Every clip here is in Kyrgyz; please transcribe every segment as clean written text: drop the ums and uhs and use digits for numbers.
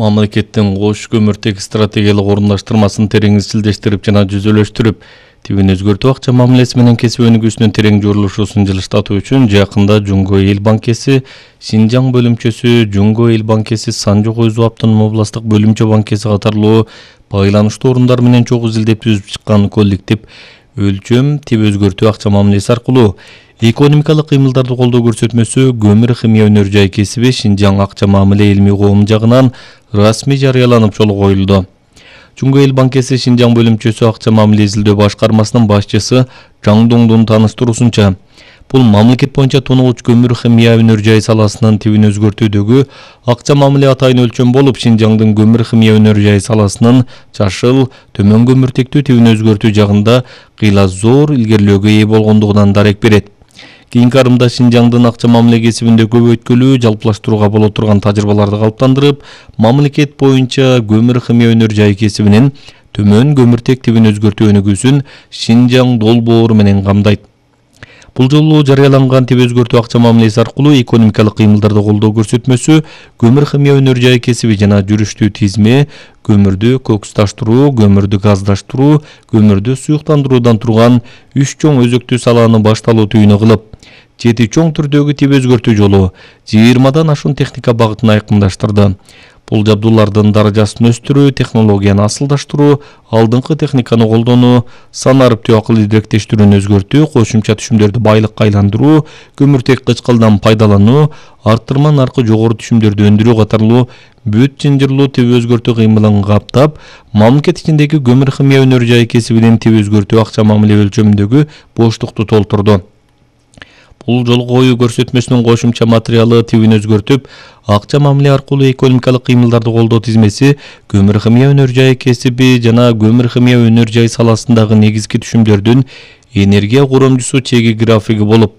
Мамлекеттин кош көмүртек стратегиялык орундаштырмасын терең изчилдештирип жана жүзөлөштүрүп, тибин өзгөртүү акча мамилеси менен кесип өнүгүүсүнүн терең журулушусун жылыштатуу үчүн жакында Жумго Эл банкеси, Синжаң бөлүмчөсү, Жумго Эл банкеси, Санжу-Кой-Зоо автономдук областык бөлүмчө банкеси катарлуу байланыштуу орундар менен чогуу изилдеп түзүп чыккан коллектив өлчөм тип өзгөртүү акча мамилеси аркылуу экономикалык кыймылдарды колдоо көрсөтмөсү көмүр химия өнөр жай кесиби Шинжаң акча мамиле илмий коом жагынан расмий жарыяланып жолго коюлду. Жумго Эл банкеси Шинжаң бөлүмчөсү акча мамиле изилдөө башкармасынын башчысы Жаң Доңдун таныштыруусунча, бул мамлекет боюнча тоногуч көмүр химия өнөр жай саласынын тибин өзгөртүүдөгү акча мамиле атайын өлчөм болуп, Шинжаңдын көмүр химия өнөр жай саласынын жашыл, төмөн көмүртектүү тибин өзгөртүү жагында кыйла зор илгерилөөгө ээ болгондугунан дарек берет. Кийинки арымда Шинжаңдын акча мамиле кесибинде көбөйткүлүү, жалпылаштырууга боло турган тажрыйбаларды калыптандырып, мамлекет боюнча көмүр химия өнөр жай кесибинин төмөн көмүртек тибин өзгөртүү өнүгүүсүн Шинжаң долбоору менен камдайт. Бул жолу жарыяланган тип өзгөртүү акча мамилеси аркылуу экономикалык кыймылдарды колдоо көрсөтмөсү көмүр химия өнөр жай кесиби жана жүрүштүү тизме көмүрдү кокусташтыруу, көмүрдү газдаштыруу, көмүрдү суюктандыруудан турган 3 чоң өзөктүү салааны башталуу түйүнү кылып, 7 чоң түрдөгү тип өзгөртүү жолу 20дан ашуун техника багытын айкындаштырды. Бул жабдуулардын даражасын өстүрүү, технологияны асылдаштыруу, алдыңкы техниканы колдонуу, сан ариптүү акыл идиректештирүүнү өзгөртүү, кошумча түшүмдөрдү байлыкка айландыруу, көмүртек кычкылдан пайдалануу, арттырма наркы жогору түшүмдөрдү өндүрүү катарлуу бүт жынжырлуу тип өзгөртүү кыймылын каптап, мамлекет ичиндеги көмүр химия өнөр жай кесибинин тип өзгөртүү акча мамиле өлчөмүндөгү боштукту толтурду. Бул жолго коюу көрсөтмөсүнүн кошумча материалы тибин өзгөртүп, акча мамиле аркылуу экономикалык кыймылдарды колдоо тизмеси көмүр химия өнөр жай кесиби жана көмүр химия өнөр жай саласындагы негизги түшүмдөрдүн энергия коромчусу чеги графиги болуп,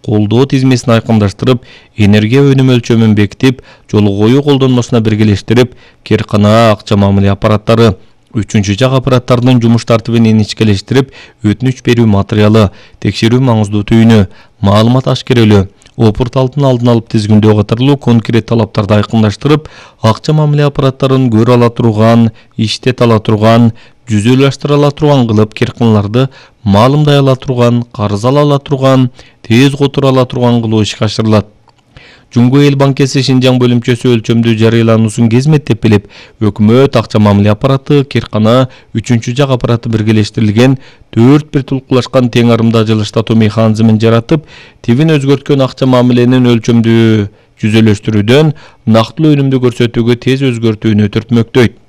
колдоо тизмесин айкындаштырып, энергия өнүм өлчөмүн бекитип, жолго коюу колдонмосуна биргелештирип, керкана акча мамиле аппараттары, үчүнчү жак аппараттардын жумуш тартибин иничкелештирип, өтүнүч берүү материалы, текшерүү маңыздуу түйүнү, маалымат ашкерелөө, опурталтын алдын алып тизгиндөө катарлуу конкрет талаптарды айкындаштырып, акча мамиле аппараттарын көрө ала турган, иштете ала турган, жүзөлөштүрө ала турган кылып, керканаларды маалымдай ала турган, карыз ала турган, тез которо ала турган кылуу ишке ашырылат. Жумго Эл банкеси Шинжаң бөлүмчөсү өлчөмдүү жарыялануусун кезметтеп билип, өкмөт, акча мамиле аппараты, керкана, үчүнчү жак аппараты биргелештирилген 4 бир тулкулашкан тең арымда жылыштатуу механизмин жаратып, тибин өзгөрткөн акча мамиленин өлчөмдүү жүзөлөштүрүүдөн нактылуу өнүмдү көрсөтүүгө тез өзгөртүүнү түртмөктөйт.